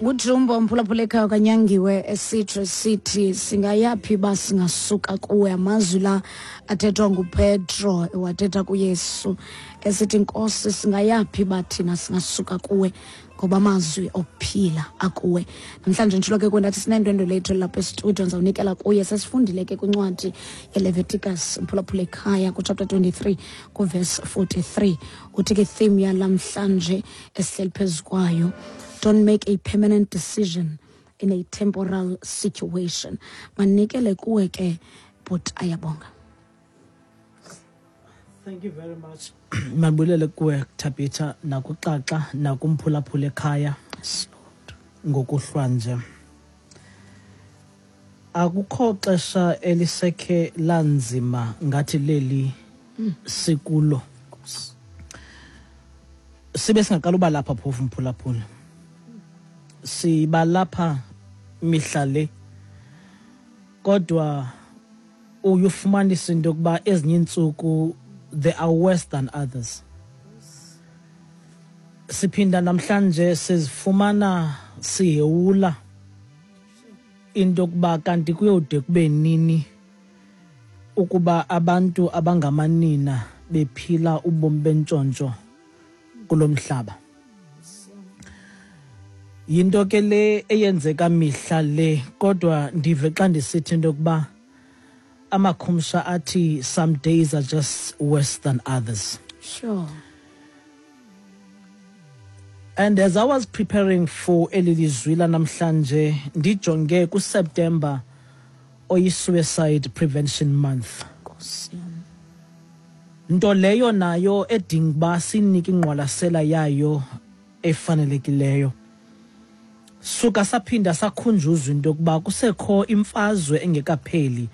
Ngujumbo mphulaphula ekhaya kanyangiwe esitsho sithi singayaphi uba singasuka kuwe. Amazwi la athethwa nguPetro wathetha kuYesu esithi, Nkosi, singayaphi uba thina singasuka kuwe, ngoba amazwi okuphila akuwe. Namhlanje nditshilo ke kwendathi sinendwendwe lethu lapha estudio, ndizawunikela kuye. Sesifundile ke kwincwadi yeLeviticus, mphulaphula ekhaya, kuchapter 23 kuverse 43. Uthi ke theme yalamhlanje esihleli phezu kwayo, don't make a permanent decision in a temporal situation. Manikele kuwe ke but ayabonga. Thank you very much. Mabulele kuwe Thabitha, nakuxaxa, nakumphulaphula ekhaya ngokuhlwa nje. Akukho xesha elisekhe lanzima ngathi leli sikulo. Sibe singaqala uba lapha phofu mphulaphula. Siba lapha mihla le. Kodwa uye ufumanise into yokuba ezinye iintsuku they are worse than others. Siphinda namhlanje sizifumana sihewula into yokuba kanti kuyode kube nini ukuba abantu abangamanina bephila ubomi bentshontsho kulo mhlaba. Yinto ke le eyenzeka mihla le, kodwa ndive xa ndisithi into yokuba amakhumsha athi some days are just worse than others. And as I was preparing for eli lizwi lanamhlanje, ndijonge kuSeptember oyi-Suicide Prevention Month. Nto leyo nayo edinga uba sinike ingqwalasela yayo efanelekileyo. Suka saphinda sakhunjuzwa into yokuba kusekho imfazwe engekapheli.